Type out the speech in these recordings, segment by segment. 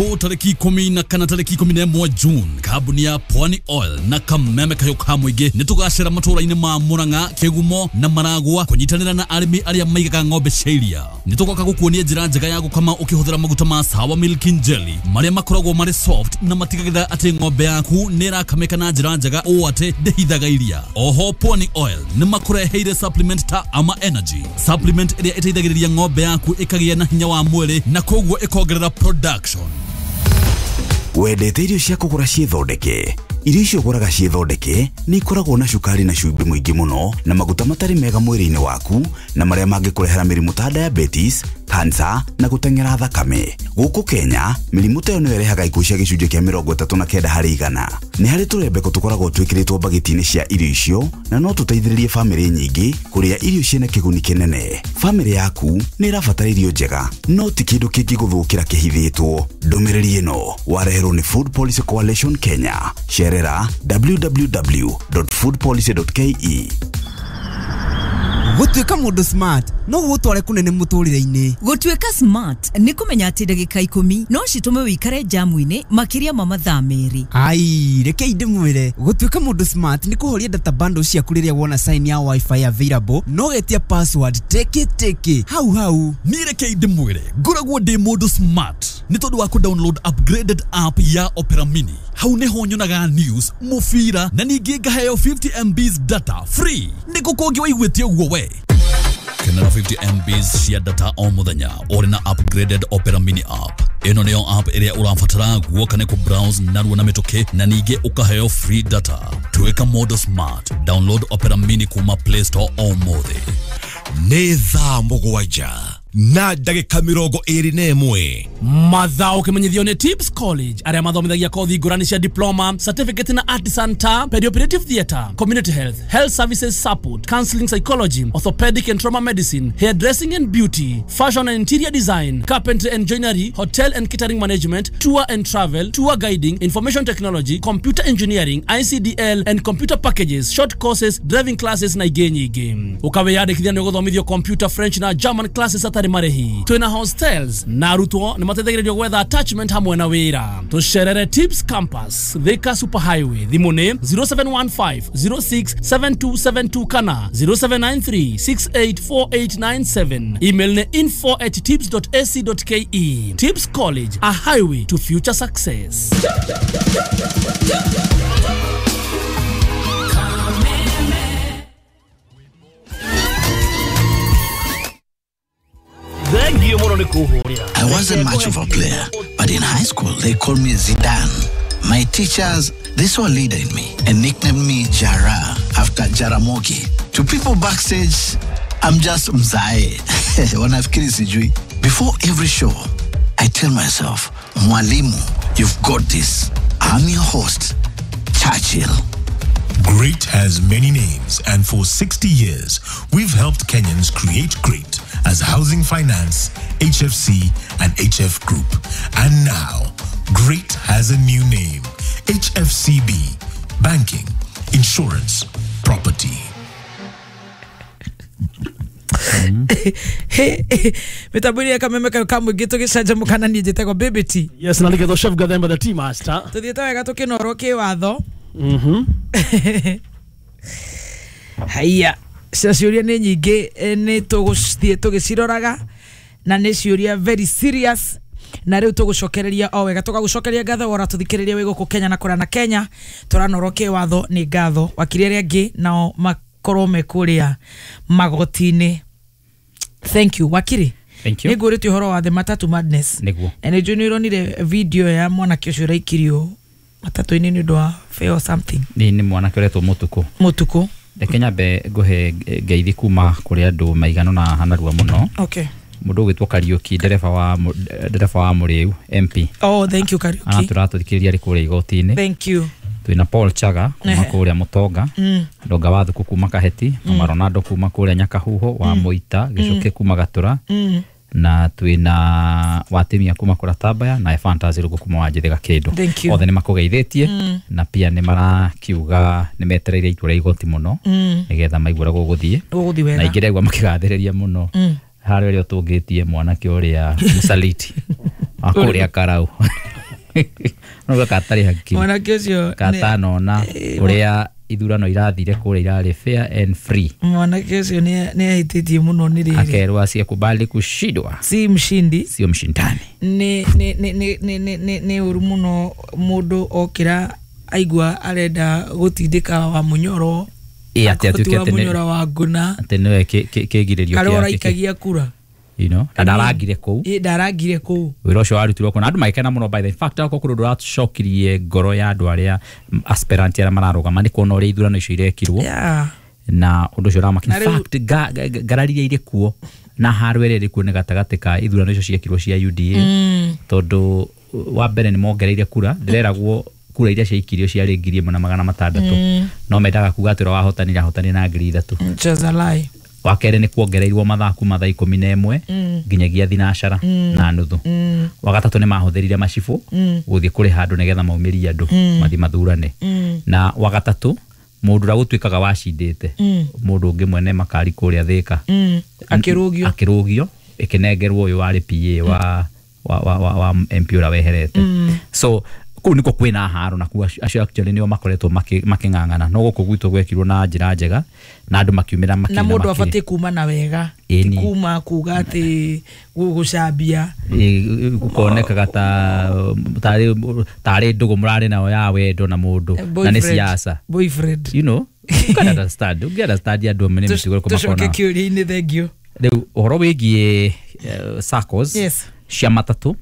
Tariki 14 tariki 11 June, kambuni ya Pwani Oil na Kameme Kayo ka Mũingĩ nĩ tũgacera matũũra-inĩ ma Murang'a, Kĩgumo na Maragwa kũnyitanĩra na arĩmi arĩa maigaga ng'ombe cia iria. Nĩ tũgoka gũkuonia njĩra njega ya gũkama ũkĩhũthĩra maguta ma Sawa Milk and Jelly marĩa makoragwo marĩ soft na matigagĩrĩra atĩ ng'ombe yaku nĩ ĩrakamĩka na njĩra njega ũũ atĩ ndĩhithaga iria. Oho Pwani Oil nĩ makũreheire supplement ta Ama Energy, supplement ĩrĩa ĩteithagĩrĩria ng'ombe yaku ĩkagĩa na hinya wa mwĩrĩ na koguo ĩkongerera production. Wendete irio cia kũgũra ciĩthondeke? Irio icio ũgũraga ciĩthondeke nĩ ikoragwo na cukari na cumbĩ mũingĩ mũno na maguta matarĩ mega mwĩrĩ-inĩ waku na marĩa mangĩkũrehera mĩrimũ ta diabetes, cancer na gũteng'era thakame. Gũkũ Kenya, mĩrimũ ta ĩyo nĩyo ĩrehaga ikuũ cia gĩcunjĩ kĩa 39%. Nĩ harĩ tũrembeko tũkoragwo twĩkĩrĩtwo mbagiti-inĩ cia irio icio na no tũteithĩrĩrie bamĩrĩ nyingĩ kũrĩa irio ciĩna kĩguni kĩnene. Bamĩrĩ yaku nĩ ĩrabatara irio njega, no ti kĩndũ kĩngĩgũthũkĩra kĩhithĩtwo. Ndũmĩrĩri ĩno wareherwo nĩ Food Policy Coalition Kenya. Cerera www.foodpolicy.ke. Gũtuĩka mũndũ smart no gũgũtware kũnene mũtũrĩre-inĩ. Gũtuĩka smart nĩ kũmenya atĩ ndagĩka 10 no citũme wĩikare jamu-inĩ makĩria ma mathaa 2. Ai, rekei ndĩmwĩre, gũtuĩka mũndũ smart nĩ kũhoria data bundle ciaku rĩrĩa wona sign ya wifi available no getia password teke teke hau hau. Niĩ rekei ndĩmwĩre, ngoragwo ndĩ mũndũ smart nĩ tondũ wa kũ-download upgraded app ya Opera Mini. Hau nĩho nyonaga news, mũbira na ningĩ ngaheo 50 MBs data free. Nĩ kũ kũngĩ waiguĩte ũguo we? Kenera 50 MBs cia data o mũthenya ũrĩ na upgraded Opera Mini app. Ĩno nĩyo app ĩrĩa ũrabatara guoka nĩ kũ-browse narua na mĩtũkĩ na ningĩ ũkaheo free data. Tuĩka mũndũ smart. Download Opera Mini kuma Play Store ũmũthĩ. Nĩ thaa 7:21. Mathao kimenyithio nĩ Tips College arĩa mathomithagia kothi ngũrani cia diploma, certificate na artisan ta perioperative theatre, community health, health services support, counseling psychology, orthopedic and trauma medicine, hairdressing and beauty, fashion and interior design, carpentry and joinery, hotel and catering management, tour and travel, tour guiding, information technology, computer engineering, ICDL and computer packages, short courses, driving classes na ingĩ nyingĩ. Ũkawĩyandĩkithia nĩ ũgũthomithio computer, French na German classes atarĩ marĩhi. Twĩna hostels na arutwo nĩ mateithagĩrĩrio gwetha attachment hamwe na wĩra. Tũcerere Tips Campus, Thika Super Highway. Thimũ nĩ 0715 067272 kana 0793 684897. Email nĩ info@tips.ac.ke. Tips College, a highway to future success. I wasn't much of a player, but in high school they called me Zidane. My teachers, they saw a leader in me and nicknamed me Jara after Jaramogi. To people backstage, I'm just Mzae. Wanafikiri sijui. Before every show, I tell myself, Mwalimu, you've got this. I'm your host, Churchill. Great has many names, and for 60 years, we've helped Kenyans create great as Housing Finance, HFC, and HF Group. And now, great has a new name, HFCB, Banking, Insurance, Property. Mitambo-inĩ ya Kameme Kayo ka Mũingĩ tũgĩcanjamũka na niĩ njĩtagwo Baby T. Yes, na nĩgetha Chef Gathemba the tea master. Tũthiĩte wega tũkĩnorwo kĩwatho. Haiya, cia ciũria nĩ nyingĩ, nĩ tũgũthiĩ tũgĩciroraga na nĩ ciũria very serious na rĩu tũgũcokereria o wega tũgagũcokeria ngatho wora tũthikĩrĩria wĩ gũkũ Kenya na kũrĩa na Kenya tũranorwo kĩwatho nĩ ngatho wakiri arĩa angĩ nao makorwo me kũrĩa magoti-inĩ. Thank you wakiri. Thank you. Nĩ ngũrĩtie ũhoro wa the matatu madness. Nĩguo. Na nĩ njũĩ nĩ ũronire video ya mwanake ũcio ũraikirio matatũ-inĩ nĩ ũndũ wa fare or something. Nĩ mwanake ũretwo Mũtukũ. Mũtukũ. Reke nyambe ngũhe ngeithi kuma kũrĩ andũ maigana na hanarua mũno. Okay. Mũndũ ũgwĩtwo Kariũki, ndereba wa Mũrĩu MP. Oh, thank you Kariũki. Tũratũthikĩrĩria arĩ kũrĩa igoti-inĩ. Thank you. Twĩna Paul Chaga kuma kũrĩa Mũtonga, Ndonga wa Thuku kuma Kaheti, Mama Ronaldo kuma kũrĩa Nyakahuho wa Mũita, Gĩcũkĩ kuma Gatũra, na twĩna Watimia kuma kũrĩa Tambaya na Fantasy Rũgũ kuma Wanjĩthĩ Gakĩndũ. Othe nĩ makũgeithĩtie na pia nĩ marakiuga nĩ metereire itua rĩa igoti mũno nĩgetha maigue ũrĩa gũgũthiĩ. Na ingĩ ndegwa makĩgathĩrĩria mũno Harĩa ũrĩa ũtũngĩtie mwanake ũrĩa mũsaliti wa kũrĩa Karau. No gatarĩ hakiri. Mwanake ũcio katanona ũrĩa ithurano irathire kũrĩa irarĩ fair and free. Mwanake ũcio nĩ ahĩtĩtie mũno nĩ rĩrĩ. Akerwo asiyekubali kushindwa. Si mshindi. Sio mshindani. Nĩ ũru mũno mũndũ okĩra aigua arenda gũtindĩka wa Munyoro. Ĩ atĩ atuĩke wa Munyoro wa Ngũna. Atĩ nĩwe kĩgirĩrio kĩake. Karĩa ũraikagia kura. You know, na ndarangire kũu. Ĩ ndarangire kũu. Wĩra ũcio warutirwo kũu na andũ magĩkena mũno by the fact akorwo kũrĩ ũndũ ũracokirie ngoro ya andũ arĩa aspirant arĩa mararũgama nĩ kuona ũrĩa ithurano icio irekirwo. Na ũndũ ũcio ũramakia. In fact ngarari iria irĩ kuo na haro ĩrĩa ĩrĩ kuo nĩ gatagatĩ ka ithurano icio ciekirwo cia UDA. Tondũ wa mbere nĩ mongereire kura, ndĩreragwo kura iria ciaikirio ciarĩ 1,600. No mendaga kuga atĩ ũrĩa wahotanire ahotanire na 3,000. Just a lie. Wa kerĩ nĩ kuongereirwo mathaa kuma thaa 11 nginyagia 12:30. Wa gatatũ nĩ mahũthĩrire macibũ gũthiĩ kũrĩha andũ nĩgetha maumĩrie andũ mathiĩ mathurane. Na wa gatatũ mũndũ ũrĩa gũtuĩkaga wacindĩte mũndũ ũngĩ mwene makari kũrĩa Thĩka akĩrũgio ĩkĩnengerwo ũyũ warĩ PA wa MP ũrĩa weherete. So kũu nĩkuo kwĩna haro na kuo acio actually nĩo makoretwo makĩng'ang'ana no gũkũ gwitũ gwekirwo na njĩra njega na andũ makiumĩra makĩina na mũndũ abatiĩ kuma na wega ti kuma kuga atĩ gũcambia gũkonekaga tarĩ ndũgũ mũrarĩ nayo ya wendo na mũndũ na nĩ siasa boyfriend, you know, you can understand, you can understand andũ amwe nĩ mĩtugo ĩrĩkũ makona. Tũcoke kĩũria-inĩ, thank you. Rĩu ũhoro wĩgiĩ SACCOs cia matatũ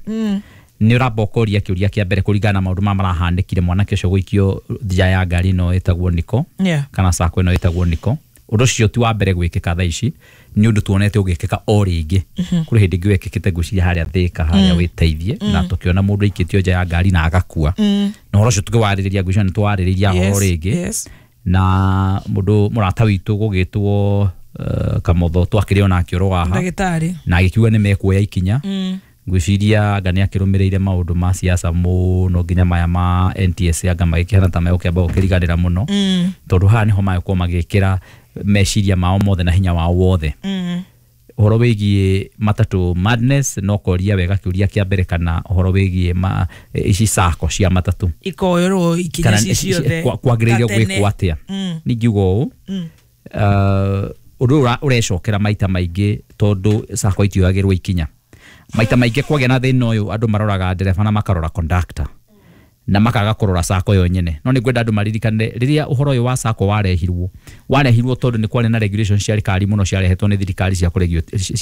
nĩ ũramba ũkoria kĩũria kĩa mbere kũringana na maũndũ maya marahanĩkire mwanake ũcio gũikio nja ya ngari ĩno ĩtagwo Niko kana SACCO ĩno ĩtagwo Niko. Ũndũ ũcio ti wa mbere gwĩkĩka thaa ici, nĩ ũndũ tuonete ũgĩkĩka o rĩngĩ. Kũrĩ hĩndĩ ĩngĩ wekĩkĩte ngwĩciria harĩa Thĩka harĩa wĩteithie na tũkĩona mũndũ aikĩtio nja ya ngari na agakua. Na ũhoro ũcio tũkĩwarĩrĩria ngwĩciria nĩ tũwarĩrĩria ũhoro rĩngĩ. Na mũndũ mũrata witũ gũgĩtwo Kamotho twakĩrĩ onake ũro haha na agĩkiuga nĩ mekuoya ikinya. Ngwĩciria anga nĩ akĩrũmĩrĩire maũndũ ma siasa mũno nginya maya ma NTSA anga magĩkĩhana ta megũkĩamba gũkĩriganĩra mũno tondũ haha nĩho magĩkorwo magĩkĩra meciria mao mothe na hinya wao wothe. Ũhoro wĩgiĩ matatũ madness no koria wega kĩũria kĩa mbere kana ũhoro wĩgiĩ ici SACCO cia matatũ ikoerwo ikinya ici ciothe kwagĩrĩire gwĩkwo atĩa. Ningiuga ũũ ũndũ ũyũ ũrecokera maita maingĩ tondũ SACCO itioyagĩrwo ikinya. Maita maingĩ kwagĩa na thĩna ũyũ andũ maroraga ndereba na makarora conductor na makaga kũrora SACCO yo nyene. No nĩ ngwenda andũ maririkane rĩrĩa ũhoro ũyũ wa SACCO warehirwo tondũ nĩ kwarĩ na regulations ciarĩ kari mũno ciarehetwo nĩ thirikari cia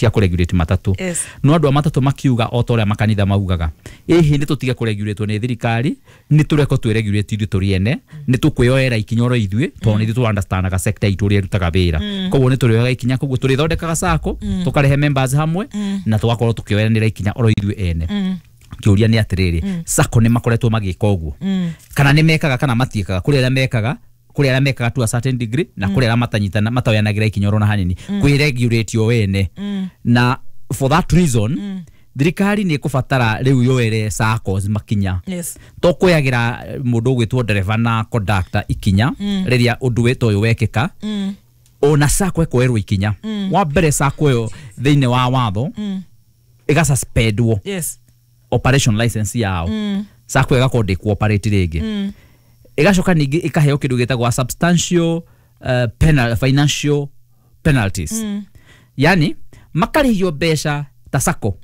kũregulate matatũ. No andũ a matatũ makiuga o ta ũrĩa makanitha maugaga, ĩhĩ nĩ tũtige kũregulatwo nĩ thirikari, nĩ tũreko twĩregulate ithuĩ tũrĩ ene, nĩ tũkwĩyoera ikinya oro ithuĩ tondũ nĩ ithuĩ tũ understandaga sector itũ ũrĩa ĩrutaga wĩra. Koguo nĩ tũrĩoyaga ikinya, koguo tũrĩthondekaga SACCO tũkarehe members hamwe na tũgakorwo tũkĩoyanĩra ikinya oro ithuĩ ene. Kĩũria nĩ atĩrĩrĩ, SACCO nĩ makoretwo magĩka ũguo kana nĩ mekaga kana matiĩkaga? Kũrĩ arĩa mekaga, kũrĩ arĩa mekaga to a certain degree na kũrĩ arĩa matanyitana mataoyanagĩra ikinya oro na hanini kwĩregulate o ene. Na for that reason thirikari nĩ ĩkũbatara rĩu yoere SACCOs makinya. To kwĩyagĩra mũndũ ũgwĩtwo ndereba na conductor ikinya rĩrĩa ũndũ wĩta ũyũ wekĩka, ona SACCO ĩkoerwo ikinya. Wa mbere SACCO ĩyo thĩinĩ wa watho ĩgasuspendwo operation license yao. SACCO ĩgakorwo ndĩkũoperate rĩngĩ. Ĩgacoka ningĩ ĩkaheo kĩndũ gĩtagwo substantial financial penalties. Yani makarĩhio mbeca ta SACCO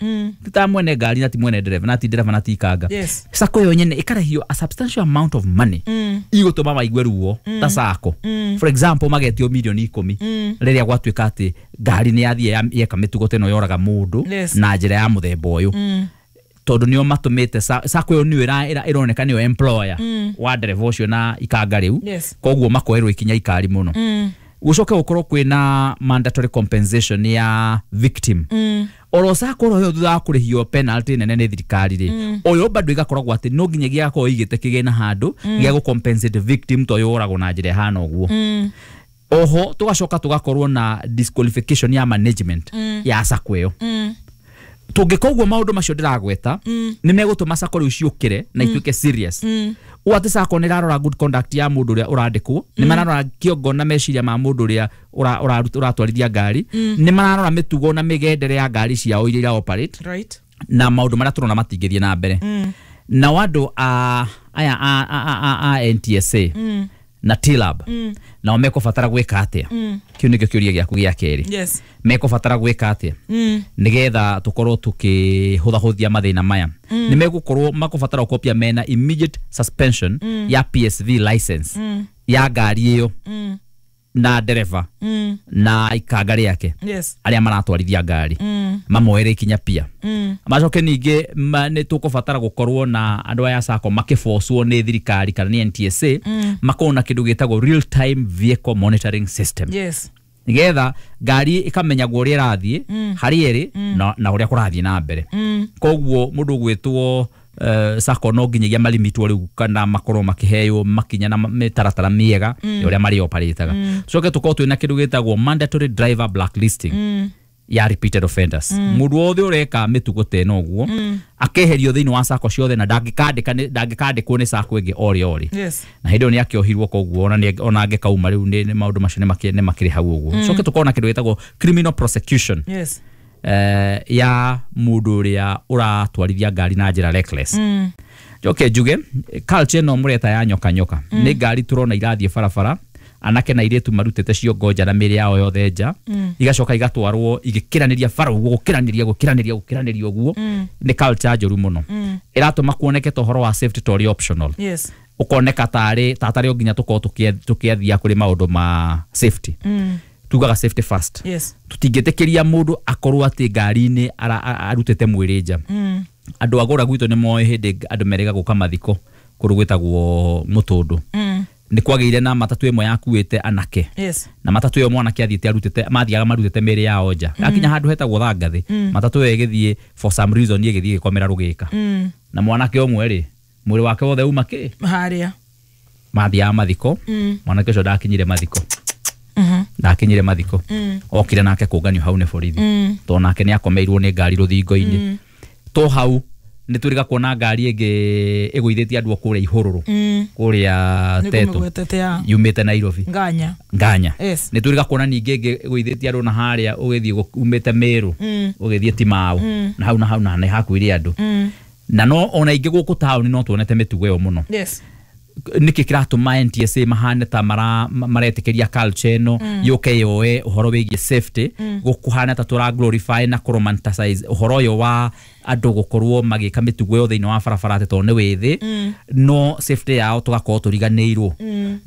ti ta mwene ngari na ti mwene ndereba na ti ndereba na ti ikanga. SACCO yo nyene ĩkarĩhio a substantial amount of money igũtũma maigue ruo ta SACCO. For example magetio milioni 10 rĩrĩa gwatuĩka atĩ ngari nĩ yathiĩ yeka mĩtugo ta ĩno yoraga mũndũ na njĩra ya mũthemba ũyũ. Tondũ nĩo matũmĩte SACCO ĩyo nĩyo ĩroneka nĩyo employer wa ndereba ũcio na ikanga rĩu, koguo makoerwo ikinya ikari mũno. Gũcoke gũkorwo kwĩna mandatory compensation ya victim. Oro SACCO oro ĩyo thutha wa kũrĩhio penalty nene nĩ thirikari rĩ, oyo bado ĩgakoragwo atĩ no nginya gĩgakorwo ĩigĩte kĩgĩna handũ gĩa gũ compensate victim to yoragwo na njĩra ĩhana ũguo. Oho tũgacoka tũgakorwo na disqualification ya management ya SACCO ĩyo. Tũngĩka ũguo maũndũ macio ndĩragweta nĩ megũtũma sacco rĩu ciũkĩre na ituĩke serious. Ũũ atĩ sacco nĩ ĩrarora good conduct ya mũndũ ũrĩa ũrandĩkwo, nĩ mararora kĩongo na meciria ma mũndũ ũrĩa ũratwarithia ngari, nĩ mararora mĩtugo na mĩgendere ya ngari ciao iria ira operate, right, na maũndũ marĩa tũrona matingĩthiĩ na mbere. Nao andũ a aya a NTSA na TLAB nao mekũbatara gwĩka atĩa? Kĩu nĩkĩo kĩũria gĩaku gĩa kerĩ. Yes. Mekũbatara gwĩka atĩa nĩgetha tũkorwo tũkĩhũthahũthia mathĩna maya? Nĩ megũkorwo makũbatara gũkorwo pia mena immediate suspension ya PSV license ya ngari ĩyo na ndereba na ikanga rĩake, yes, arĩa maratwarithia ngari mamoere ikinya pia. Macoke ningĩ nĩ tũkũbatara gũkorwo na andũ aya sacco makĩbocwo nĩ thirikari kana nĩ NTSA, makorwo na kĩndũ gĩtagwo real time vehicle monitoring system, yes, nĩgetha ngari ĩkamenyagwo ũrĩa ĩrathiĩ, harĩa ĩrĩ na ũrĩa kũrathiĩ na mbere. Koguo mũndũ ũgwĩtwo sacco no nginyagia marimitwo rĩu kana makorwo makĩheo makinya na mĩtaratara mĩega ya ũrĩa marĩ operataga. Tucoke tũkorwo twĩna kĩndũ gĩtagwo mandatory driver blacklisting ya repeated offenders. Mũndũ wothe ũreka mĩtugo ta ĩno ũguo akeherio thĩinĩ wa sacco ciothe na ndangĩkandĩkwo nĩ sacco ĩngĩ orĩ orĩ. Yes. Na hĩndĩ ĩyo nĩ akĩohirwo, koguo ona angĩkauma rĩu nĩ maũndũ macio nĩ makĩrĩ hau ũguo. Coke tũkorwo na kĩndũ gĩtagwo criminal prosecution, yes, ya mũndũ ũrĩa ũratwarithia ngari na njĩra reckless. Njoke njuge culture ĩno mũreta ya nyoka nyoka nĩ ngari tũrona irathiĩ barabara, anake na airĩtu marutĩte ciongo nja na mĩĩrĩ yao yothe nja, igacoka igatwarwo igĩkĩranĩria bara ũguo, gũkĩranĩria gũkĩranĩria gũkĩranĩria ũguo. Nĩ culture njũru mũno ĩratũma kuoneke ta ũhoro wa safety ta ũrĩ optional, yes, ũkoneka tarĩ tatarĩ o nginya tũkorwo tũkĩathia kũrĩ maũndũ ma safety. Tugaga safety first. Yes. Tũtingĩtĩkĩria mũndũ akorwo atĩ ngari-inĩ arutĩte mwĩrĩ nja. Andũ a gũra gwitũ nĩ moĩ hĩndĩ andũ merĩga gũka mathiko kũndũ gwĩtagwo Mũtũndũ, nĩ kwagĩire na matatũ ĩmwe yakuĩte anake, yes, na matatũ ĩyo mwanake athiĩte arutĩte, mathiaga marutĩte mĩĩrĩ yao nja. Akinya handũ hetagwo Thangathĩ, matatũ ĩyo ĩgĩthiĩ for some reason ĩgĩthiĩ ĩgĩkomera rũgĩka, na mwanake ũmwe rĩ mwĩrĩ wake wothe uma kĩ harĩa mathiaga mathiko. Mwanake ũcio ndakinyire mathiko, ndakinyire mathiko, okire nake kũnganio hau nĩ borithi, tondũ nake nĩ akomeirwo nĩ ngari rũthingo-inĩ. To hau nĩ twĩrĩga kuona ngari ĩngĩ ĩgũithĩtie andũ kũrĩa Ihũrũrũ, kũrĩa Teto, Nĩngũmĩgwetete ya yumĩte Nairobi, Nganya. Nganya. Yes. Nĩ twĩrĩga kuona ningĩ ĩngĩ ĩgũithĩtie andũ na harĩa ũgĩthiĩ umĩte Mĩrũ ũgĩthiĩ Timau, na hau na hau na nĩ hakuire andũ. Na no ona ingĩ gũkũ taũni no tuonete mĩtugo ĩyo mũno. Yes. Nĩkĩ kĩratũma NTSA mahane ta maretĩkĩria culture ĩno yũke yoe ũhoro wĩgiĩ safety, gũkũhana ta tũra glorify na kũromanticize ũhoro ũyũ wa andũ gũkorwo magĩka mĩtugo ĩyo thĩinĩ wa barabara atĩ tondũ nĩ wĩthĩ, no safety yao tũgakorwo tũriganĩirwo.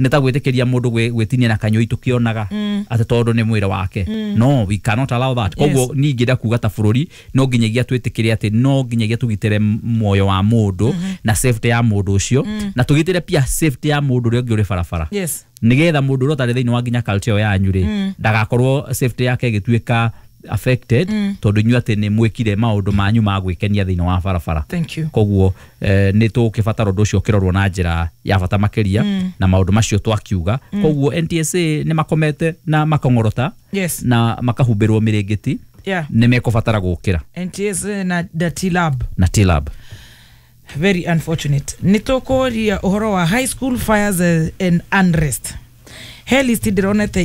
Nĩ ta gwĩtĩkĩria mũndũ gwĩtinia na kanyũi tũkĩonaga atĩ tondũ nĩ mwĩrĩ wake. No, we cannot allow that. Koguo niĩ ingĩenda kuga ta bũrũri no nginyagia twĩtĩkĩre atĩ no nginyagia tũgitĩre muoyo wa mũndũ na safety ya mũndũ ũcio, na tũgitĩre pia safety ya mũndũ ũrĩa ũngĩ ũrĩ barabara, yes, nĩgetha mũndũ ũrĩa ũtarĩ thĩinĩ wa nginya culture ĩyo yanyu rĩ ndagakorwo safety yake ĩgĩtuĩka affected tondũ inyuĩ atĩ nĩ mwĩkire maũndũ manyu ma gwĩkenia thĩinĩ wa barabara. Thank you. Koguo nĩ tũgũkĩbatara ũndũ ũcio ũkĩrorwo na njĩra ya bata makĩria na maũndũ macio twakiuga. Koguo NTSA nĩ makomete na makong'orota, yes, na makahumbĩrwo mĩrĩngĩti, yeah, nĩ mekũbatara gũkĩra. NTSA na the TLAB. Na TLAB. Very unfortunate. Nĩ tũkũria ũhoro wa high school fires and unrest. He list ndĩronete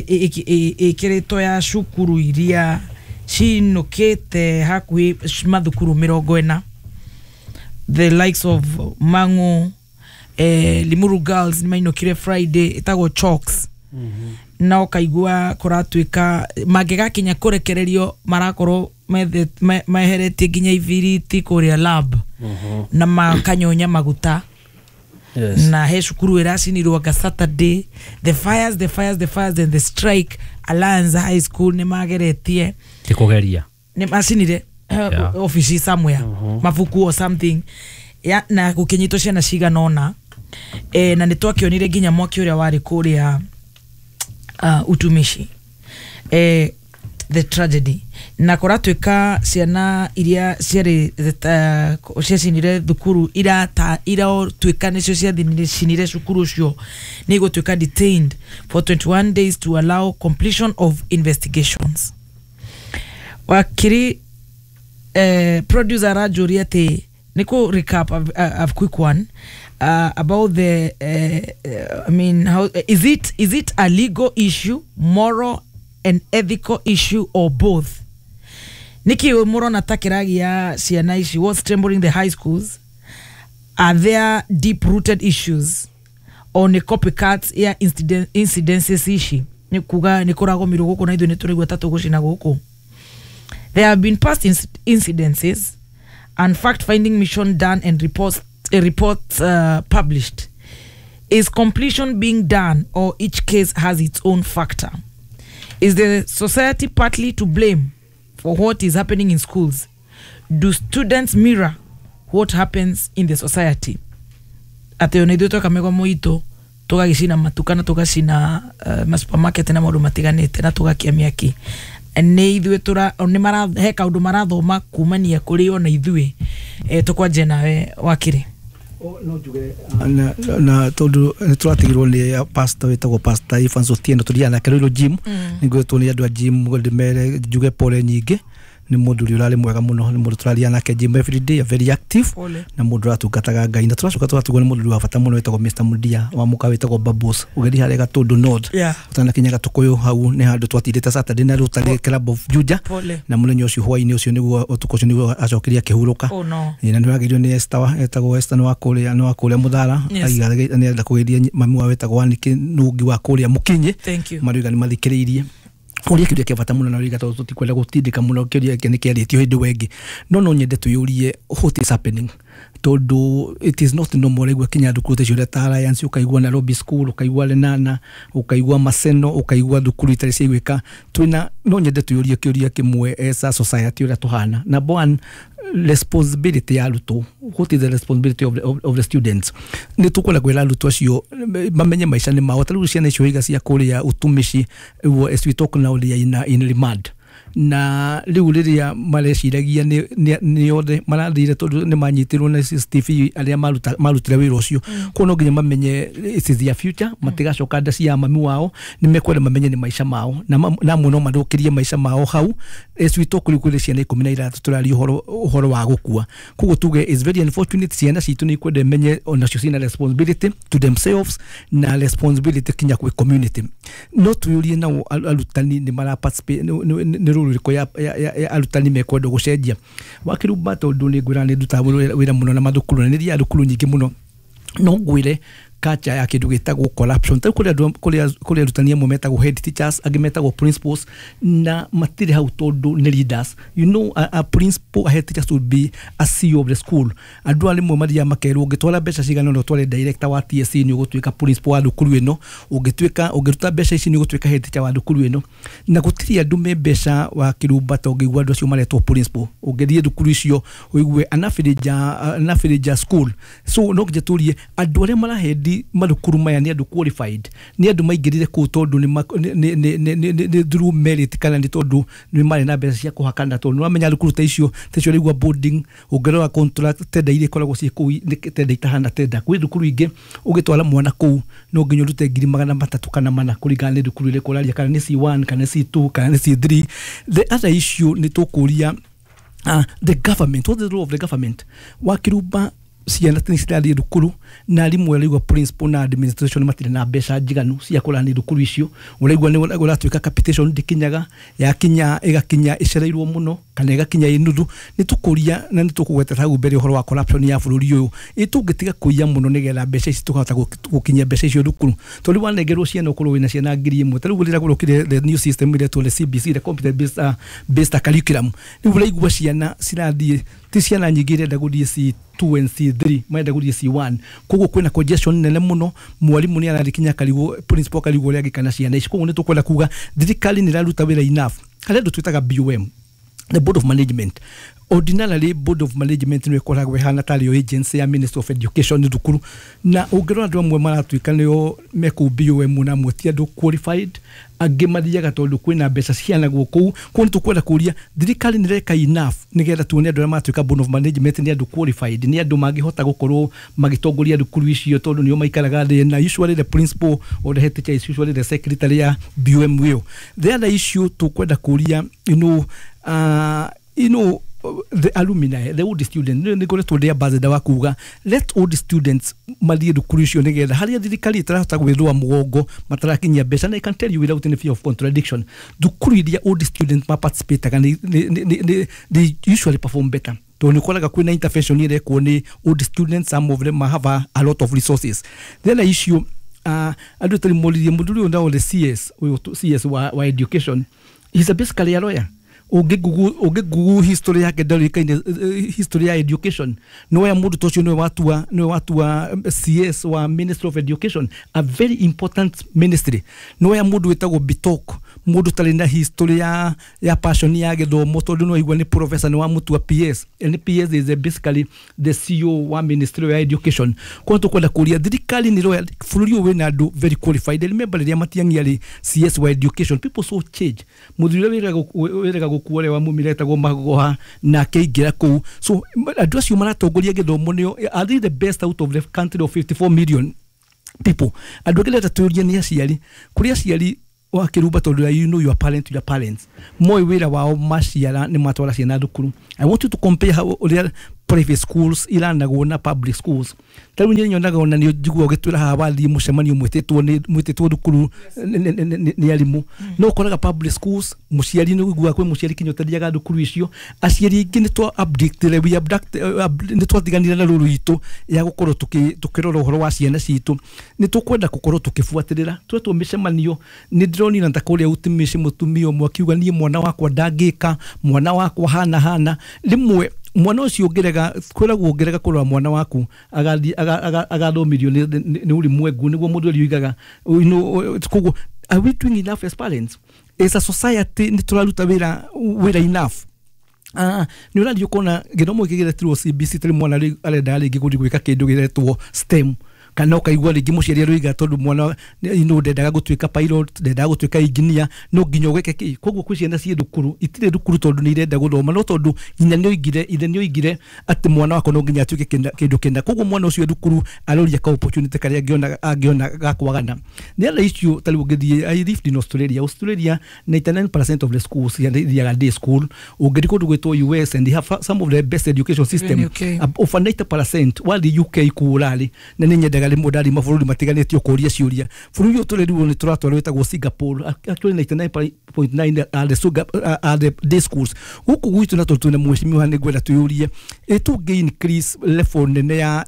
ĩkĩrĩtwo ya cukuru iria cinũkĩte hakuhĩ mathukuru 40, the likes of Mangu, Limuru Girls nĩ mainũkire Friday, ĩtagwo Chalks. Na ũkaigua kũratuĩka mangĩgakinya kũrekererio marakorwo meheretie nginya ibiriti kũrĩa lab na makanyonya maguta. Yes. Na he cukuru ĩracinirwo anga Saturday. The fires, the fires, the fires and the strike. Alliance High School nĩ mageretie Ti kũgeria. Nĩ macinire Yeah. ofici somewhere, mabuku or something ya, na gũkĩnyitwo ciana cigana ũna, na nĩ twakĩonire nginya mwaki ũrĩa warĩ kũrĩa utumishi, the tragedy, na kũratuĩka ciana iria ciarĩ ciacinire thukuru iratuĩka nĩcio ciacinire cukuru ũcio nĩ igũtuĩka detained for 21 days to allow completion of investigations. Wakiri Producer aranjũria atĩ nĩ kũ recap a quick one about the I mean, how is it a legal issue, moral and ethical issue, or both? Nĩkĩ mũrona ta kĩragia ciana ici? What's trembling the high schools? Are there deep rooted issues or nĩ copycats ya incidences ici? Nĩ kuga nĩ kũragomirwo gũkũ na ithuĩ nĩ tũraigua ta tũgũcina gũkũ. There have been past incidences and fact finding mission done and reports published. Is completion being done, or each case has its own factor? Is the society partly to blame for what is happening in schools? Do students mirror what happens in the society? Atĩ ona ithuĩ tweka mĩgomo itũ, tũgagĩcina matuka na tũgacina masupermarket na maũndũ matiganĩte na tũgakia mĩaki, nĩ ithuĩ tũra nĩ mara he kaũndũ marathoma kumania kũrĩ ona ithuĩ. Tũkwanjia nawe, wakiri. No njuge na tondũ nĩ tũratigirwo nĩ pastor wĩtagwo Pastor Evans Otieno, tũthiaga nake Ruiru gym. Nĩ ngwĩtwo nĩ andũ a gym ndĩmere njuge pole nyingĩ. Nĩ mũndũ ũrĩa ũrarĩ mwega mũno, nĩ mũndũ tũraria nake gym every day, very active. Pole. Na mũndũ ũratungataga Ngai. Na tũracoka tũgatigwo nĩ mũndũ wa bata mũno wĩtagwo Mr. Mudia wa mũka wĩtagwo Babos, ũgĩthiĩ harĩa Gatũndũ North, ũtanakinya Gatũkũyũ, hau nĩ handũ twatindĩte Saturday na Rotary Club of Juja. Pole. Na mũthenya ũcio, hwaĩ-inĩ ũcio nĩguo, ũtukũ ũcio nĩguo acokire akĩhurũka. Oh no. Ĩ, na nĩ wagĩrĩirwo nĩ Esther, etagwo Esther, nĩ wa kũrĩa Mũthara. Aiga nĩ arenda kũgeithia mami wao wĩtagwo Wanĩkĩ Nũngi wa kũrĩa Mũkinyĩ. Thank you. Marauga nĩ mathikĩrĩirie. Ũria kĩũria kĩa bata mũno, na ũrĩa tondũ tũtikwenda gũtindĩka mũno, kĩũria gĩkĩ nĩ kĩarĩtio hĩndĩ wengĩ, no nyende twĩyũrie what is happening, tondũ it is not normal. Ũraigua kinya thukuru ta icio ũrĩa ta Alliance, ũkaigua Nairobi School, ũkaigua Lenana, ũkaigua Maseno, ũkaigua thukuru itarĩ ciaiguĩka. Twĩna no nyende twĩyũrie kĩũria kĩmwe as a society ũrĩa tũhana. Number one, responsibility ya arutwo. What is the responsibility of the students? Nĩ tũkwenda kwĩra arutwo acio mamenye maica nĩ mao. Ta rĩu ciana icio iga cia kũrĩa utumishi, as we talk now, they are in remand. Na rĩu rĩrĩa mareciragia nĩ othe marathire tondũ nĩ manyitirwo na CCTV arĩa marutire wĩra ũcio. Koguo no nginya mamenye it is their future, matigacoka nda cia mami wao. Nĩ mekwenda mamenye nĩ maica mao, na amwe no mathũkĩrie maica mao hau. As we talk, rĩu kwĩrĩ ciana 16 tũraria ũhoro wa gũkua. Koguo tuge is very unfortunate. Ciana citũ nĩ ikwenda imenye onacio ciĩna responsibility to themselves na responsibility kinya kwĩ community. No twĩũrie nao arutani nĩ mara participate, nĩ rũrũ rĩrĩkũ ya arutani mekwenda gũcenjia wakĩrumba, tondũ nĩ ngwĩra nĩ ndutaga wĩra mũno na mathukuru na nĩ thiaga thukuru nyingĩ mũno. No ngwĩre culture ya kĩndũ gĩtagwo corruption. Ta rĩu kũrĩ andũ, kũrĩ arutani amwe metagwo head teachers, angĩ metagwo principals, na matirĩ hau tondũ nĩ leaders. A principal, a head teacher should be a CEO of the school. Andũ a rĩmwe mathiaga makerwo ũngĩtwara mbeca cigana ũna ũtware director wa TSC, nĩ ũgũtuĩka principal wa thukuru ĩno, ũngĩtuĩka ũngĩruta mbeca ici, nĩ ũgũtuĩka head teacher wa thukuru ĩno. Na gũtirĩ andũ me mbeca wa kĩrumba ta ũngĩigua andũ acio maretwo principal. Ũngĩthiĩ thukuru icio ũigue an average school. So no nginya tũrie andũ arĩa marahendi mathukuru maya nĩ andũ qualified, nĩ andũ maingĩrire kũu tondũ nĩ ma- nĩ- nĩ- nĩ- nĩ- nĩ- nĩ through merit, kana nĩ tondũ nĩ marĩ na mbeca cia kũhakana? Tondũ nĩwamenya thukuru ta icio ũraigua boarding, ũngĩrora contract tender iria ikoragwo ciĩ kũu nĩ tender itahana tender. Kwĩ thukuru ingĩ ũgĩtwara mwana kũu no nginya ũrute 300,000 kana 400, kũringana nĩ thukuru ĩrĩkũ ũraria, kana nĩ C1, kana nĩ C2, kana nĩ C3. The other issue nĩ tũkũria the government, what is the role of the government? Wakĩrumba, ciana nĩ cirathiĩ thukuru na arimũ, ũraigua principal na administration matirĩ na mbeca njiganu cia kũrani thukuru icio. Ũraigua nĩ ũratuĩka capitation ndĩkinyaga, yakinya ĩgakinya ĩcereirwo mũno kana ĩgakinya ĩ nuthu. Nĩ tũkũria na nĩ tũkũgweta hau mbere ũhoro wa corruption ya bũrũri ũyũ. Ĩ tũngĩtiga kũiya mũno nĩgetha mbeca ici tũkahota gũkinyia mbeca icio thukuru? Tondũ rĩu wanengerwo ciana, ũkorwo wĩna ciana 1000, ta rĩu rĩrĩa gũrokire the new system ĩretwo the CBC, the computer based curriculum, rĩu ũraigua ciana cirathiĩ, ti ciana nyingĩ irenda gũthiĩ C2 and C3, marenda gũthiĩ C1. Koguo kwĩna congestion nene mũno. Mwarimũ nĩ arathiĩ kinya akarigwo, principal akarigwo ũrĩa angĩka na ciana ici. Koguo nĩ tũkwenda kuga thirikari nĩ ĩraruta wĩra enough? Harĩ andũ twĩtaga BOM, the board of management. Ordinarily, board of management nĩ ĩkoragwo ĩhana tarĩ yo agency ya Ministry of Education thukuru. Na ũngĩrora andũ amwe maratuĩka nĩo mekũu BOM, na amwe ti andũ qualified, angĩ mathiaga tondũ kwĩna mbeca cianagwo kũu. Koguo nĩ tũkwenda kũria thirikari nĩ ĩreka enough nĩgetha tuone andũ arĩa maratuĩka board of management nĩ andũ qualified, nĩ andũ mangĩhota gũkorwo magĩtongoria thukuru icio, tondũ nĩo maikaraga thĩ, na usually the principal or the head teacher is usually the secretary ya BOM ĩyo. The other issue tũkwenda kũria, The alumni, the old student, nĩ ngoretwo ndĩ ambassador wa kuga let old students mathiĩ thukuru icio nĩgetha harĩa thirikari ĩtarahota gwĩthũa mũgongo matarakinyia mbeca. Na I can tell you without any fear of contradiction, thukuru iria old students ma participate they usually perform better, tondũ nĩ ũkoraga kwĩna intervention ĩrekwo nĩ old students. Some of them have a lot of resources. Then issue andũ tarĩ moririe mũndũ ũrĩa now the CS, ũyũ CS wa education, he's a basically a lawyer. Ũngĩ history yake ndarĩkaine history ya education. No ya mũndũ ta ũcio nĩwe watua CS wa Ministry of Education, a very important ministry. No ya mũndũ wĩtagwo Bitok, mũndũ tarĩ na history ya passion ya gĩthomo, tondũ no aigua nĩ professor, nĩ wamũtua PS, and PS is basically the CEO wa Ministry ya Education. Kwa tũkwenda kũria thirikari nĩ roya bũrũri ũyũ wĩna andũ very qualified. I remember rĩrĩa Matiang'i arĩ CS wa education, people saw change. Mũthuri ũrĩa wĩrĩga gũkua ũrĩa wamumire etagwo Magoha na akĩingĩra kũu. So andũ acio maratongoria gĩthomo nĩo, are they the best out of the country of 54 million people? Andũ angĩ reta tũrie nĩ aciari, kũrĩ aciari wa kĩrumba, tondũ you know your parent, your parents moĩ wĩra wao, maciara nĩ matwara ciana thukuru. I want you to compare how ũrĩa private schools iranagwo na public schools. Ta rĩu nyonaga ona nĩ njiguaga ũgĩtwĩra haha wathiĩ mũcemanio mwĩtĩtwo nĩ mwĩtĩtwo thukuru nĩ arimũ, no ũkoraga public schools mũciari nĩ ũiguaga kwĩ mũciari kinya ũtathiaga thukuru icio. Aciari aingĩ nĩ twa abducted, we abduct, nĩ twatiganire na rũrũ itũ ya gũkorwo tũkĩrora ũhoro wa ciana citũ. Nĩ tũkwenda gũkorwo tũkĩbuatĩrĩra twetwo mĩcemanio. Nĩ ndĩronire ta kũrĩa utimĩci mũtumia ũmwe akiuga, "Niĩ mwana wakwa ndangĩka, mwana wakwa hana hana." Rĩmwe mwana ũcio ũngĩrega, kwĩragwo ũngĩrega kũrora mwana waku agathiĩ agathomithio nĩ ulimwengu, nĩguo mũndũ ũrĩa oigaga. Koguo are we doing enough as parents, as a society? Nĩ tũraruta wĩra enough? Nĩ ũrathiĩ ũkona gĩthomo gĩkĩ gĩretirwo CBC, tarĩ mwana arenda rĩngĩ gũthiĩ gwĩka kĩndũ gĩretwo STEM, kana ũkaigua rĩngĩ mũciari aroiga tondũ mwana ndendaga gũtuĩka pilot, ndendaga gũtuĩka engineer, no nginya ũgeke kĩ. Koguo kwĩ ciana ciĩ thukuru itirĩ thukuru tondũ nĩ irenda gũthoma, no tondũ nyina nĩ oigire, ithe nĩ oigire atĩ mwana wakwa no nginya atuĩke kĩndũ kĩna. Koguo mwana ũcio thukuru aroria ka opportunity karĩa angĩona ga kwagana nĩ other issue. Ta rĩu ũngĩthiĩ, I lived in Australia. Australia, 99% of the schools ithiaga day school. Ũngĩthiĩ kũndũ gwĩtwo US, and they have some of the best education system. UK. Over 90%. Wathiĩ UK kũũrarĩ na nĩ nyendaga rĩmwe ndathiĩ mabũrũri matiganĩte ũkũria ciũria. Bũrũri ũyũ tũrĩrwo nĩ tũratwarwo wĩtagwo Singapore, actually 99.9 are the day schools. Gũkũ gwitũ na tondũ twĩna mheshimiwa, nĩ ngwenda twĩyũrie ĩ tũngĩ increase level nene ya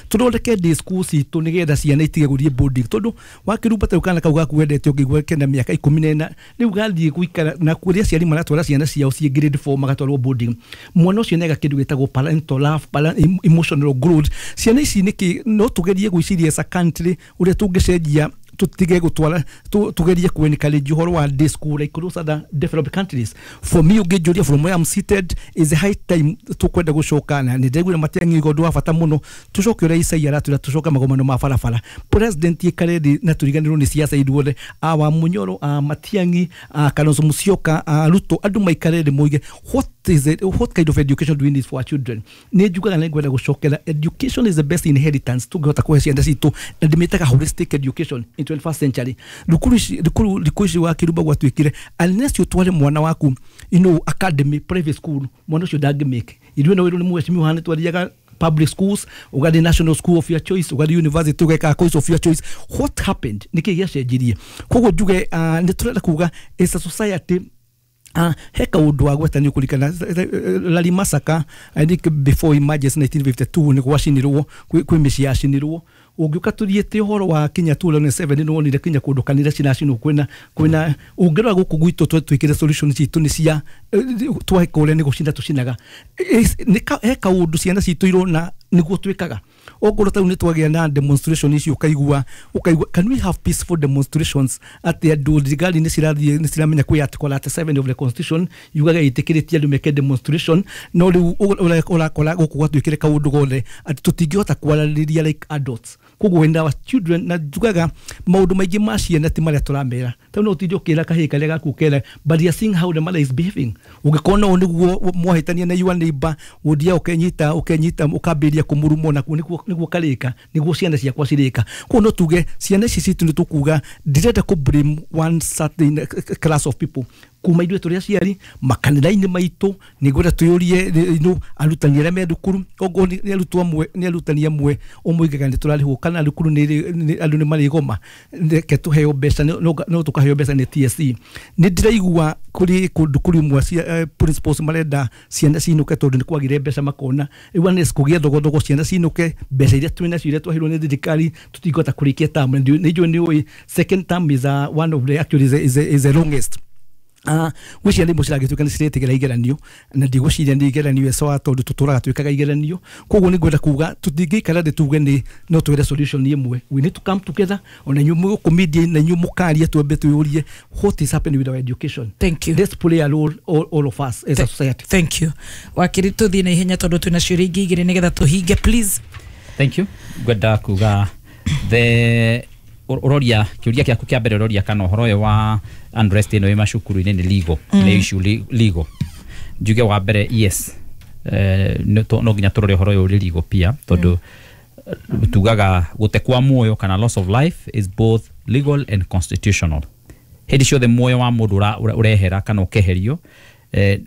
tũthondeke day schools citũ nĩgetha ciana itige gũthiĩ boarding, tondũ wakĩrumba ta rĩu kana kau gaku wendete ũngĩigua kena mĩaka 14 rĩu gathiĩ gũikara na kũrĩa aciari maratwara ciana ciao ciĩ grade 4 magatwarwo boarding. Mwana ũcio nĩaga kĩndũ gĩtagwo parental love, emotional growth. Ciana ici nĩkĩ no tũgerie gwĩciria as a country ũrĩa tũngĩcenjia, tutige gutwara, tugerie ku encourage uhoro wa day school like those other developed countries? For me, ũngĩnjũria, from where I'm seated, is a high time tukwenda gũcoka, na nĩ ndĩraigua Matiang'i ũndũ wa bata mũno, tũcoke ũrĩa Isaia aratwĩra, tũcoke magomano ma barabara. President ikare thĩ na tũriganĩrwo nĩ siasa ithuothe, a wa Munyoro, a Matiang'i, a Kalonzo Musyoka, a Ruto, andũ maikare thĩ moige what is it, what kind of education do we need for our children? Nĩ njugaga nĩ ngwenda gũcokera education is the best inheritance tũngĩhota kũhe ciana citũ, na ndĩmĩtaga holistic education in 21st century. Thukuru ici, thukuru thikũ ici wa kĩrumba gwatuĩkire unless ũtware mwana waku academy, private school, mwana ũcio ndangĩmake. Ithuĩ no wĩrwo nĩ mheshimiwa hana twathiaga public schools, ugathiĩ national school of your choice, ugathiĩ university ũgeka course of your choice. What happened? Nĩkĩ gĩacenjirie? Koguo njuge nĩ tũrenda kuga as a society he kaũndũ wa gweta nĩ ũkũririkana Lari Massacre, I think before emergency 1952 nĩ gwacinirwo, kwĩ mĩciĩ yacinirwo. Ũngĩũka tũthiĩte ũhoro wa kinya 2007 nĩ wonire kinya kũndũ kanitha ciracinwo. Kwĩna ũngĩrora gũkũ gwitũ twĩkĩre solution citũ nĩ cia tweka ũrĩa nĩ gũcina tũcinaga. He kaũndũ ciana citũ irona nĩguo twĩkaga. Okorwo ta rĩu nĩ twagĩa na demonstration ici, ũkaigua can we have peaceful demonstrations, atĩ andũ thirikari nĩ cirathiĩ nĩ ciramenya kwĩ article 37 of the constitution yugaga ĩtĩkĩrĩtie andũ meke demonstration. No rĩu ũrakora gũkũ gwatuĩkire kaũndũ gothe atĩ tũtingĩhota kwaranĩria like adults. Koguo when our children, na njugaga maũndũ maingĩ ma ciana ti marĩa tũramera. Ta no ũtinde ũkĩra kahĩĩ karĩa gaku kera, but you are seeing how the mother is behaving. Ũngĩkorwo no nĩguo mwahĩtania na your neighbor, ũthiaga ũkenyita ũkambĩrĩria kũmũruma, nakuo nĩguo karĩka nĩguo ciana ciakwa cirĩka. Koguo no tuge ciana ici citũ nĩ tũkuga ndirenda kũ blame one certain class of people. Kuma ithuĩ tũrĩ aciari makanitha-inĩ maitũ, nĩ ngwenda twĩyũrie no arutani arĩa me thukuru, okorwo nĩ arutwo amwe, nĩ arutani amwe ũmoigaga nĩ tũrarĩhwo kana thukuru nĩ andũ nĩ marĩgoma, reke tũheo mbeca, no tũkaheo mbeca nĩ TSC. Nĩ ndĩraigua kũrĩ kũndũ kũrĩ imwe principals marenda ciana cinũke tondũ nĩ kwagire mbeca, makona rĩu nĩ kũgĩa thogothogo, ciana cinũke, mbeca iria twĩ nacio iria twaheirwo nĩ thirikari tũtingĩhota kũrĩkia term. Nĩ njũĩ nĩ ũĩ second term is one of the actually is the longest. Gwĩ ciana imwe ciragĩtuĩka nĩ ciretigĩra igeranio, na ndigwĩciria nĩ igeranio ecoa tondũ tũtũraga twĩkaga igeranio. Koguo nĩ ngwenda kuga tũtingĩikara thĩ tuge nĩ no twĩre solution ĩmwe. We need to come together, ona inyuĩ mũgũkũ media na inyuĩ mũkaria, twambe twĩyũrie what is happening with our education. Thank you. Let's play a role, all of us as a society. Thank you. Wakiri, tũthiĩ na ihenya tondũ twĩna ciũria ingĩ igĩrĩ nĩgetha tũhinge, please. Thank you. Ngwenda kuga the ũroria kĩũria gĩaku kĩa mbere, ũroria kana ũhoro ũyũ wa unrest ĩno ĩ macukuru-inĩ nĩ legal, nĩ issue legal. Njuge wa mbere, yes, no nginya tũrore ũhoro ũyũ ũrĩ legal pia, tondũ tugaga gũte kwa muoyo kana loss of life is both legal and constitutional. Hĩndĩ ciothe muoyo wa mũndũ ũrehera kana ũkeherio,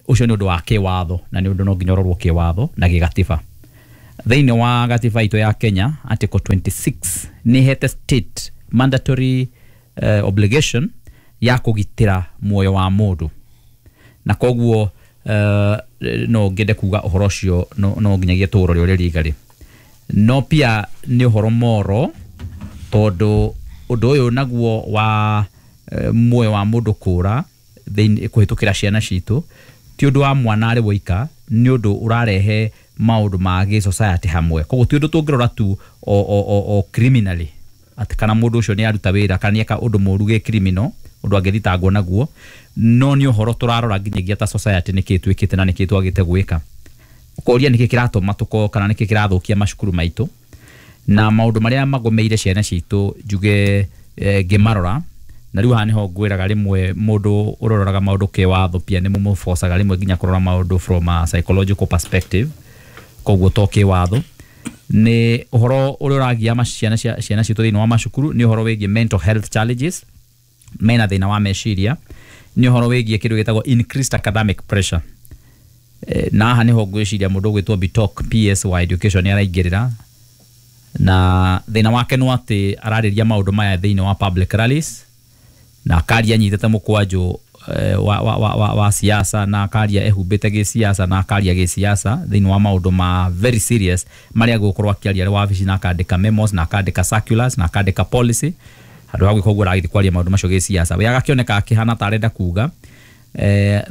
ũcio nĩ ũndũ wa kĩwatho na nĩ ũndũ no nginya ũrorwo kĩwatho na gĩgatiba. Thĩinĩ wa gatiba itũ ya Kenya, article 26 nĩ ĩhete state mandatory obligation ya kũgitĩra muoyo wa mũndũ, na koguo no ngende kuga ũhoro ũcio no nginyagia tũũrore ũrĩa legally. No pia nĩ ũhoro moro, tondũ ũndũ ũyũ naguo wa muoyo wa mũndũ kũra thĩinĩ kũhĩtũkĩra ciana citũ ti ũndũ wa mwana arĩ woika, nĩ ũndũ ũrarehe maũndũ ma gĩ society hamwe. Koguo ti ũndũ tũngĩrora tu o criminally atĩ kana mũndũ ũcio nĩ aruta wĩra kana nĩ eka ũndũ mũru gĩ criminal, ũndũ angĩthitangwo naguo, no nĩ ũhoro tũrarora nginyagia ta society nĩkĩ twĩkĩte na nĩkĩ twagĩte gwĩka. Ũkoria nĩkĩ kĩratũma tũkorwo kana nĩkĩ kĩrathũkia macukuru maitũ na maũndũ marĩa magomeire ciana citũ, njuge ngĩmarora. Na rĩu haha nĩho ngwĩraga rĩmwe mũndũ ũroraga maũndũ kĩwatho pia nĩ mũmũbocaga rĩmwe nginya kũrora maũndũ from a psychological perspective, koguo to kĩwatho. Nĩ ũhoro ũrĩa ũragia ciana citũ thĩinĩ wa macukuru nĩ ũhoro wĩgiĩ mental health challenges, mena thĩna wa meciria, nĩ ũhoro wĩgiĩ kĩndũ gĩtagwo increased academic pressure. Na haha nĩho ngwĩciria mũndũ ũgwĩtwo Bitok PS wa education nĩ araingĩrĩra, na thĩna wake no atĩ ararĩria maũndũ maya thĩinĩ wa public rallies, na akaria anyitĩte mũkwanjũ wa siasa, na akaria ehumbĩte gĩsiasa, na akaria gĩsiasa thĩinĩ wa maũndũ ma very serious marĩa gũkorwo akĩaria arĩ wabici, na akandĩka memos, na akandĩka circulars, na akandĩka policy. Handũ ha gwĩka ũguo aragĩthiĩ kwaria maũndũ macio gĩsiasa, we agakĩoneka akĩhana ta arenda kuga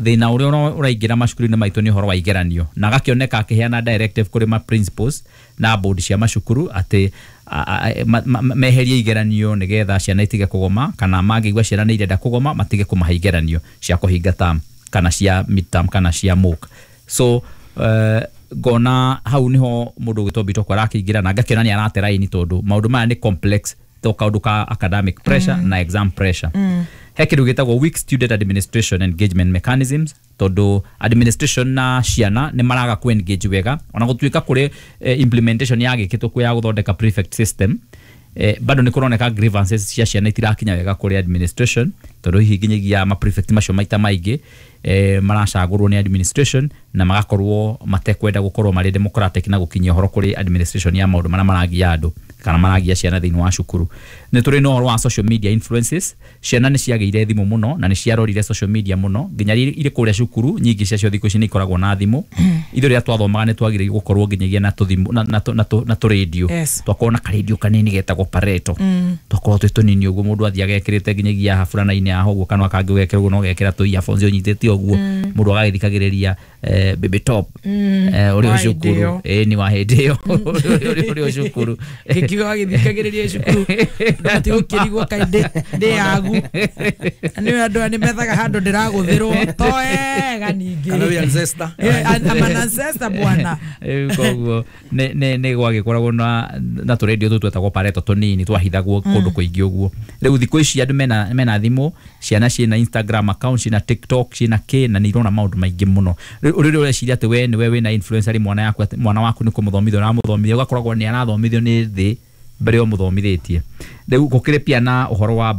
thĩna ũrĩa ũraingĩra macukuru-inĩ maitũ nĩ ũhoro wa igeranio, na agakĩoneka akĩheana directive kũrĩ ma principals na board cia macukuru atĩ meherie igeranio nĩgetha ciana itige kũgoma, kana mangĩigua ciana nĩ irenda kũgoma matige kũmahe igeranio cia kũhinga term kana cia midterm kana cia mock. So ngona hau niho mũndũ ũgwĩtwo Bitoko arakĩingĩra, na ngakĩona nĩ arate raini tondũ maũndũ maya nĩ complex, to kaũndũ ka academic pressure na exam pressure. He kĩndũ gĩtagwo weak student administration engagement mechanisms, tondũ administration na ciana nĩ maraga ku engage wega, ona gũtuĩka kũrĩ implementation yagĩkĩtwo kwĩ ya gũthondeka prefect system, bado nĩ kũroneka grievances cia ciana itirakinya wega kũrĩ administration, tondũ hihi nginyagia ma prefect macio maita maingĩ maracagũrwo nĩ administration na magakorwo matekwenda gũkorwo marĩ democratic na gũkinyia ũhoro kũrĩ administration ya maũndũ marĩa maragia andũ kana maragia ciana thĩinĩ wa cukuru. Nĩ tũrĩ na ũhoro wa social media influences, ciana nĩ ciagĩire thimũ mũno na nĩ ciarorire social media mũno nginya irĩ kũrĩa cukuru, nyingĩ ciacio thikũ ici nĩ ikoragwo na thimũ. Ithuĩ rĩrĩa twathomaga nĩ twagĩrĩirwo gũkorwo nginyagia na tũthimũ na tũrĩndio, twakorwo na karĩndio kanini getagwo pareto, twakorwo twĩ tũnini ũguo mũndũ athiaga ekĩrĩte nginyagia burana-inĩ yaho ũguo, kana kangĩ ũgekĩra ũguo na ũgekĩra tũ earphones ũnyitĩte ũguo, mũndũ agagĩthikagĩrĩria Baby Top ũrĩ cukuru, ĩni wa hĩndĩ ĩyo ũrĩ cukuru gĩkiuga wagĩthikagĩrĩria cukuru ndũgatige gũkĩrigwo kaĩ ndĩ yagu, na nĩ andũ aya nĩ methaga handũ ndĩragũthĩrwo to wega ningĩ, kana wĩ ancestor, I'm an ancestor bwana. Koguo nĩ gwagĩkoragwo na tũrĩndio tũtũ twetagwo pareto tũnini twahithagwo kũndũ kũingĩ ũguo. Rĩu thikũ ici andũ mena thimũ, ciana ciĩna Instagram account, ciĩna TikTok, ciĩna kĩ, na nĩ irona maũndũ maingĩ mũno. Rĩu ũreciria atĩ we nĩwe wĩna influencer rĩ, mwana waku nĩ kũmũthomithia ũramũthomithia, ũgakoragwo nĩ arathomithio nĩ thĩ mbere ũmũthomithĩtie. Rĩu gũkĩrĩ pia na ũhoro wa